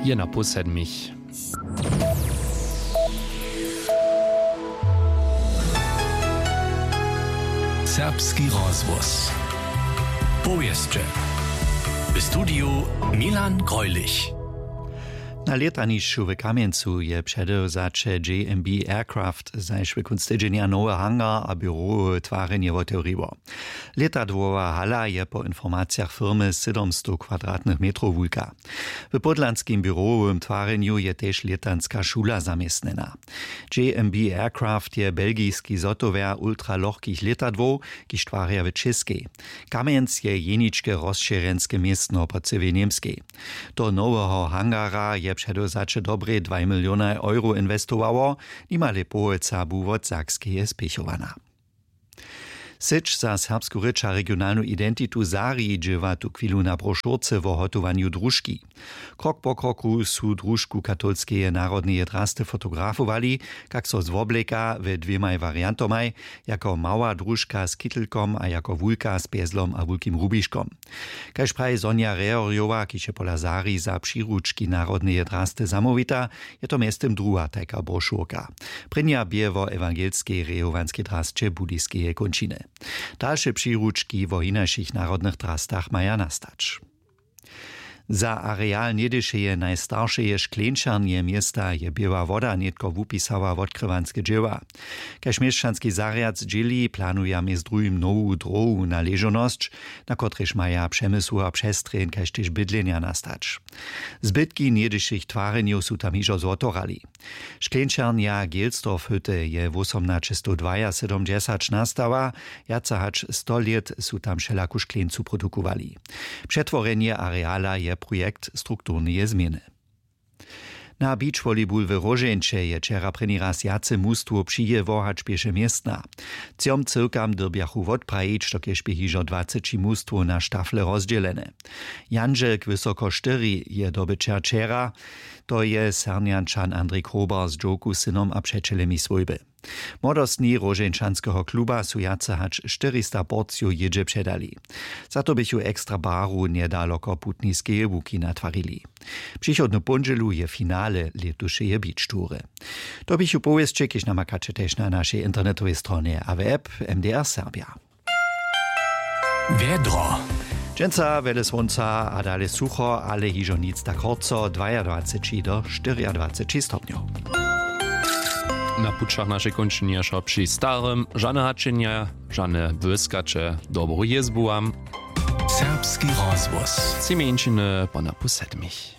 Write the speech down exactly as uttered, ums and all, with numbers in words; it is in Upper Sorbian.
Je na pół sedmich. Serbski rozhłos. Powěsće. W studiju Milan Greulich. Na lětanišću w Kamjencu je předewzaće J M B Aircraft zašły kónc tydźenja nowy hangar a běrowe twarjenje wotewriło. Lětadłowa hala je po informacijach firmy sydomstow kwadratnych metrow wulka. W pódlanskim běrowym twarjenju je tež lětanska šula zaměstnjena. J M B Aircraft je belgiski zhotowjer ultralochkich lětadłow, kiž twarja w Českej. Kamjenc je jeničke rozšěrjenske městno po cyłej Němskej. Do noweho hangara je předewzaće dobrej dwaj milionaj euro inwestowało, nimale połojca bu wot Sakskeje spěchowana. Syć za serbsku rěč a regionalnu identitu Zari dźěła tuchwilu na brošurce wo hotowanju družki. Krok po kroku su družku katolskeje narodneje drasty fotografowali, kak so zwobleka we dwěmaj wariantomaj, jako mała družka z kitelkom a jako wulka z pjezlom a wulkim rubiškom. Kaž praji Sonja Rehorjowa, kiž je pola Zari za přiručki narodneje drasty zamołwita, je to mjeztym druha tajka brošurka. Prěnja bě wo ewangelskej rejowanskej drasće budiskeje kónčiny. Dalše přiručki wo hinašich narodnych drastach maja nastać. Za areal něhdyšeje najstaršeje škleńčarnje města je běła woda nětko wupisała wotkrywanske dźěła. Kaž měšćanski zarjad dźěli, planuja mjez druhim nowu dróhu na ležownosć, na kotrejž maja přemysłowa přestrěn kaž tež bydlenja nastać. Zbytki něhdyšich twarjenjow su tam hižo zwotorali. Škleńčarnja Gelsdorfhütte je wósomnaćestowdwajasydomdźesać nastała. Wjace hač sto lět su tam wšelaku škleńcu produkowali. Přetworjenje areala je projekt strukturneje změny. Na beachvolleyball w Róžeńće je wčera prěni raz wjace mustwow přijěło hač běše městna. Třom cyłkam dyrbjachu wotprajić, dokelž bě hižo dwaceći mustwow na štafle rozdźělene. Jandźelk wysoko štyri je dobyćer wčera. To je Sernjančan Andrej Krobar z dźowku, synom a přećelemi swójby. Młodostni róžeńčanskeho kluba su wjace hač štyrista porcijow jědźe předali. Za to běchu ekstra baru njedaloko putniskeje łuki natwarili. Přichodny póndźelu je finale lětušeje beach toury. To běchu powěsće, kiž namakaće tež na našej internetowej stronje a w app M D R Serbja. Wjedro. Dźensa wjele słónca a dale sucho, ale hižo nic tak horco, dwajadwaceći do štyriadwaceći stopnjow. Na pućach našej kónčinja wšo při starym, žane hačenja, žane błyskaće, dobru jězbu wam. Serbski rozhłos. Tři mjeńšiny po napu sedmich.